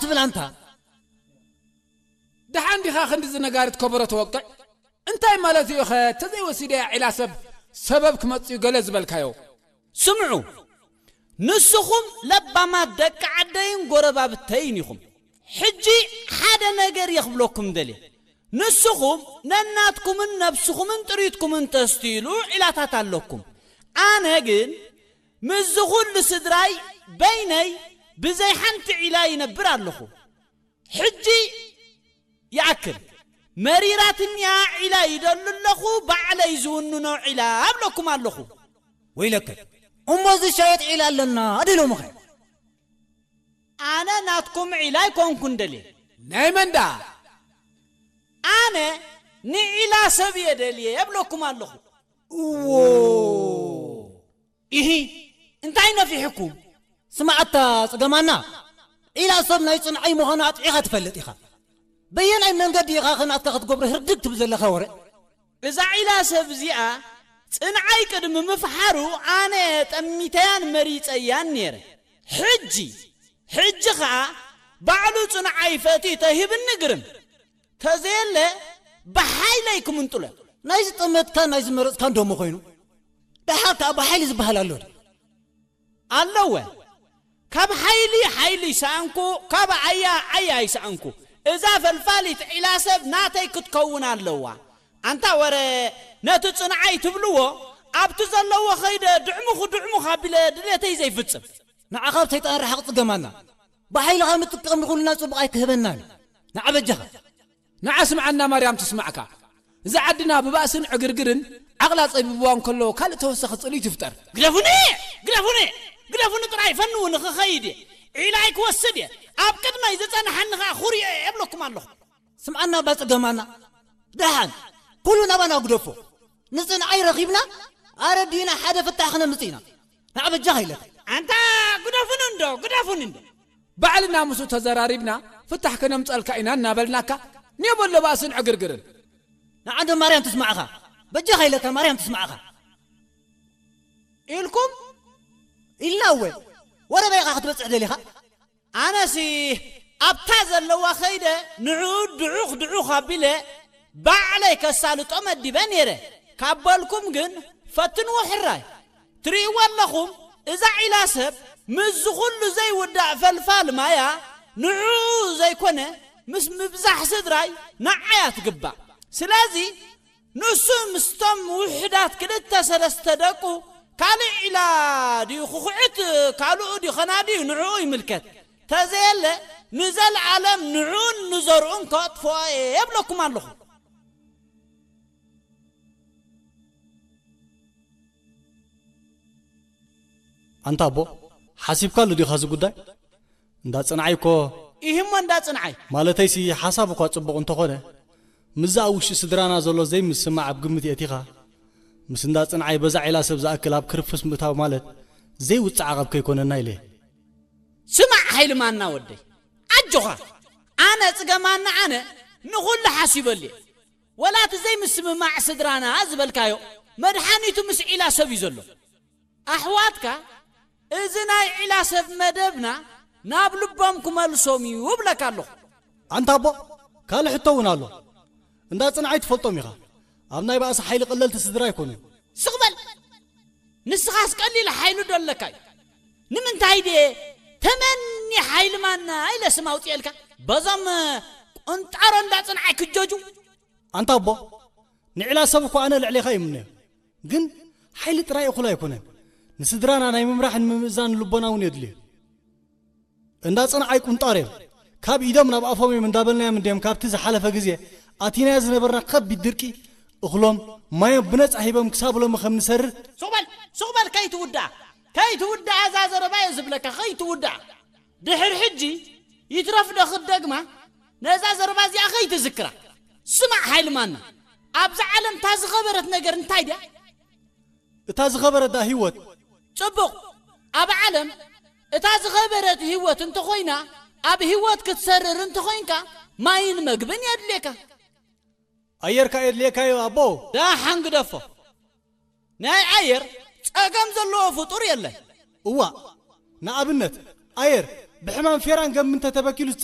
ትብል ኣንታ። ደሓን ዲኻ ክንድዚ ነጋሪት ከበሮ ተወቅዕ? እንታይ ማለት እዩ ኸ? ተዘይወሲደያ ዒላ ሰብ ሰበብ ክመጽእ እዩ ገለ ዝበልካዮ? ስምዑ፣ ንስኹም ለባማት ደቂ ዓደይን ጎረባብተይን ኢኹም። ሕጂ ሓደ ነገር እየ ክብለኩም ደልየ። ንስኹም ነናትኩምን ነብስኹምን ጥሪትኩምን ተስትይሉ ዒላታት ኣለኩም። ኣነ ግን ምስዚ ኹሉ ስድራይ በይነይ ብዘይ ሓንቲ ዒላ ይነብር ኣለኹ። ሕጂ ይኣክል፣ መሪራትኒያ ዒላ ይደሉ ኣለኹ፣ ባዕለይ ዝውንኖ ዒላ ኣብለኩም ኣለኹ። ወይለከ፣ እሞ ዝሻየጥ ዒላ ኣለና ድሎምኸ? ኣነ ናትኩም ዒላ ኣይኮንኩን ደልየ። ናይ መን ደኣ? ኣነ ንዒላ ሰብ እየ ደልየ እብለኩም ኣለኹ። እዎ። ኢሂ፣ እንታይ ነፊሕኩም? ስማዓታ ጽገማና፣ ዒላ ሰብ ናይ ጽንዓይ ምዃኑ ኣጥዒኻ ትፈልጥ ኢኻ። በየናይ መንገዲ ኢኻ ኸ ናትካ ክትገብሮ ህርድግ ትብል ዘለኻ ወረ? እዛ ዒላ ሰብ እዚኣ ጽንዓይ ቅድሚ ምፍሓሩ ኣነ ጠሚተያን መሪጸያን ነይረ። ሕጂ፣ ሕጂ ኸኣ ባዕሉ ጽንዓይ ፈትዩ ተሂብኒ ግርም። ተዘየለ ብሓይለይ ክምንጥሎ። ናይ ዝጠመትካን ናይ ዝመረጽካን ደሞ ኮይኑ፣ ደሓር ከኣ ብሓይሊ ዝበሃል ኣሎ ድዩ? ኣለወ። ካብ ሓይሊ ሓይሊ ይሰኣንኩ፣ ካብ ኣያ ኣያ ይሰኣንኩ። እዛ ፈልፋሊት ዒላ ሰብ ናተይ ክትከውን ኣለዋ። ኣንታ ወረ፣ ነቲ ጽንዓይ ትብልዎ ኣብቲ ዘለዎ ኸይደ ድዕሙኽ ድዕሙኽ ኣቢለ ድሌተይ ዘይፍጽም። ንዓኻ ኣብ ሰይጣን ርሓቕ ጽገማና። ብሓይልኻ ምጥቃም ንኹልና ጽቡቕ ኣይክህበናን እዩ። ንዓ በጃኻ። ንዓ ስምዓና ማርያም ትስማዕካ። እዛ ዓድና ብባእስን ዕግርግርን ዓቕላ ጸቢብዋ እንከሎ ካልእ ተወሳኺ ጽልኢ ትፍጠር። ግደፉኒ! ግደፉኒ! ግደፉኒ ጥራይ ፈንዉ ንኽኸይድ እየ። ዒላይ ክወስድ እየ። ኣብ ቅድመይ ዝጸንሓኒ ኸኣ ኹርዮ እየ እብለኩም ኣለኹ። ስምዓና ኣባ ጽገማና። ደሓን ኩሉ ናባና ግደፎ። ንጽንዓይ ረኺብና ኣረዲእና ሓደ ፍታሕ ክነምጽእ ኢና። ንዓ በጃኻ ኢለካ። ኣንታ ግደፉኒ እንዶ፣ ግደፉኒ እንዶ። ባዕልና ምስኡ ተዘራሪብና ፍታሕ ከነምጸልካ ኢና እናበልናካ፣ ኔቦ ኣሎ ባእስን ዕግርግርን። ንዓ እንዶ ማርያም ትስማዕኻ። በጃኻ ኢለካ ማርያም ትስማዕኻ። ኢልኩም? ኢልና እወ። ወረ በይኻ ክትበጽሕ ደሊኻ? ኣነሲ ኣብታ ዘለዋ ኸይደ ንዕኡ ድዑኽ ድዑኽ ኣቢለ ባዕለይ ከሳልጦ መዲበ ነይረ። ካብ በልኩም ግን ፈትንዎ ሕራይ። ትርእይዎ ኣለኹም፣ እዛ ዒላ ሰብ ምስዚ ኹሉ ዘይውዳእ ፈልፋል ማያ ንዕኡ ዘይኮነ ምስ ምብዛሕ ስድራይ ንዓያ ትግባእ። ስለዚ ንሱ ምስቶም ውሑዳት ክልተ ሰለስተ ደቁ ካልእ ዒላ ድዩ ክኹዕት ካልኡ ድዩ ኸናድዩ ንዕኡ ይምልከት። ተዘየለ ንዘለዓለም ንዕኡን ንዘርኡን ከጥፍኦ እየ የብለኩም ኣለኹ። ኣንታ ኣቦ፣ ሓሲብካሉ ዲኻ እዚ ጉዳይ? እንዳ ጽንዓይ እኮ። ኢሂሞ እንዳ ጽንዓይ። ማለተይሲ ሓሳብ እኳ ጽቡቕ እንተኾነ፣ ምስዚ ኣብ ውሽጢ ስድራና ዘሎ ዘይምስምማዕ ኣብ ግምት የእቲኻ፣ ምስ እንዳ ጽንዓይ በዛ ዒላ ሰብ ዝኣክል ኣብ ክርፍስ ምእታው ማለት ዘይውጽዓቕ ኣብ ከይኮነና ኢለ። ስማዕ ሃይልማና ወደይ፣ ኣጆኻ። ኣነ ጽገማና ኣነ ንኹሉ ሓሲበሉ እየ። ወላ እቲ ዘይምስምማዕ ስድራና ዝበልካዮ መድሓኒቱ ምስ ዒላ ሰብ እዩ ዘሎ። ኣሕዋትካ እዚ ናይ ዒላ ሰብ መደብና ናብ ልቦም ክመልሶም እዩ እብለካ ኣለኹ። ኣንታ ኣቦ፣ ካልእ ሕቶ እውን ኣሎ። እንዳ ጽንዓይ ትፈልጦም ኢኻ። ኣብ ናይ ባእሲ ሓይሊ ቀለልቲ ስድራ ኣይኮኑን። ስቕ በል! ንስኻስ ቀሊል ሓይሊ ዶ ኣለካ እዩ? ንምንታይ ድየ ተመኒ ሓይሊ ማና ኢለ ስም ኣውፅኤልካ? በዞም ቁንጣሮ እንዳ ጽንዓይ ክጀጁ? ኣንታ ኣቦ፣ ንዕላ ሰብ እኮ ኣነ ልዕሌኻ ይምነዮ። ግን ሓይሊ ጥራይ እኹል ኣይኮነን። ንስድራና ናይ ምምራሕን ምምእዛን ልቦና እውን የድልዮ። እንዳ ጽንዓይ ቁንጣር እዮም። ካብ ኢዶም ናብ ኣፎም እዮም እንዳበልናዮም እንድዮም ካብቲ ዝሓለፈ ግዜ ኣቲናዮ ዝነበርና ከቢድ ድርቂ እኽሎም ማዮም ብነጻ ሂቦም ክሳብ ሎሚ ከም ንሰርህ። ሱቕ በል፣ ሱቕ በል፣ ከይትውድኣ፣ ከይትውድኣ እዛ ዘረባ እየ ዝብለካ፣ ከይትውድኣ። ድሕሪ ሕጂ ይትረፍ ዶ ክትደግማ፣ ነዛ ዘረባ እዚኣ ከይትዝክራ። ስማዕ ሓይሊ ማና፣ ኣብዛ ዓለም እታ ዝኸበረት ነገር እንታይ ድያ? እታ ዝኸበረት ደኣ ህይወት። ጽቡቕ። ኣብ ዓለም እታ ዝኸበረት ህይወት እንተኾይና፣ ኣብ ህይወት ክትሰርር እንተኾይንካ፣ ማይን መግብን የድልየካ። ኣየርካ የድልየካዮ ኣቦ። ደሓን ግደፎ። ናይ ኣየር ጸገም ዘለዎ ፍጡር የለን። እዋእ፣ ንኣብነት ኣየር ብሕማም ፌራን ገምን እንተተበኪሉስ